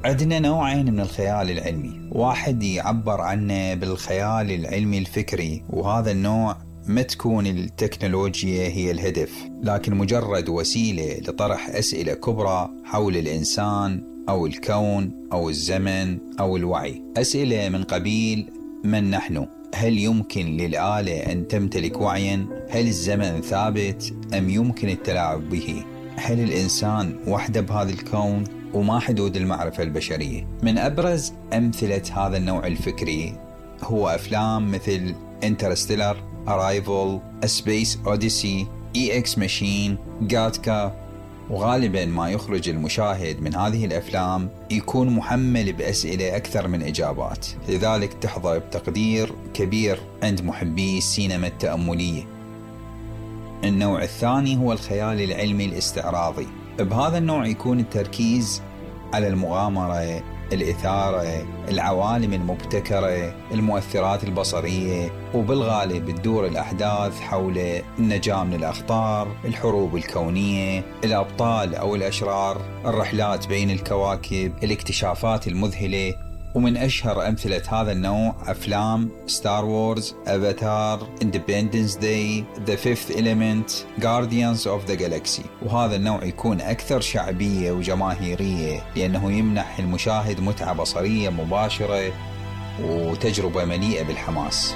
عندنا نوعين من الخيال العلمي، واحد يعبر عنه بالخيال العلمي الفكري، وهذا النوع ما تكون التكنولوجيا هي الهدف، لكن مجرد وسيلة لطرح أسئلة كبرى حول الإنسان أو الكون أو الزمن أو الوعي. أسئلة من قبيل: من نحن؟ هل يمكن للآلة أن تمتلك وعيا؟ هل الزمن ثابت أم يمكن التلاعب به؟ هل الإنسان وحده بهذا الكون؟ وما حدود المعرفة البشرية؟ من أبرز أمثلة هذا النوع الفكري هو أفلام مثل Interstellar, Arrival, A Space Odyssey, EX Machine, Gattaca. وغالبا ما يخرج المشاهد من هذه الأفلام يكون محمل بأسئلة أكثر من إجابات، لذلك تحظى بتقدير كبير عند محبي السينما التأملية. النوع الثاني هو الخيال العلمي الاستعراضي. بهذا النوع يكون التركيز على المغامرة، الإثارة، العوالم المبتكرة، المؤثرات البصرية، وبالغالب تدور الأحداث حول النجاة من الأخطار، الحروب الكونية، الأبطال أو الأشرار، الرحلات بين الكواكب، الاكتشافات المذهلة. ومن أشهر أمثلة هذا النوع أفلام ستار وورز، أفاتار، Independence Day, The Fifth Element, Guardians of the Galaxy. وهذا النوع يكون أكثر شعبية وجماهيرية لأنه يمنح المشاهد متعة بصرية مباشرة وتجربة مليئة بالحماس.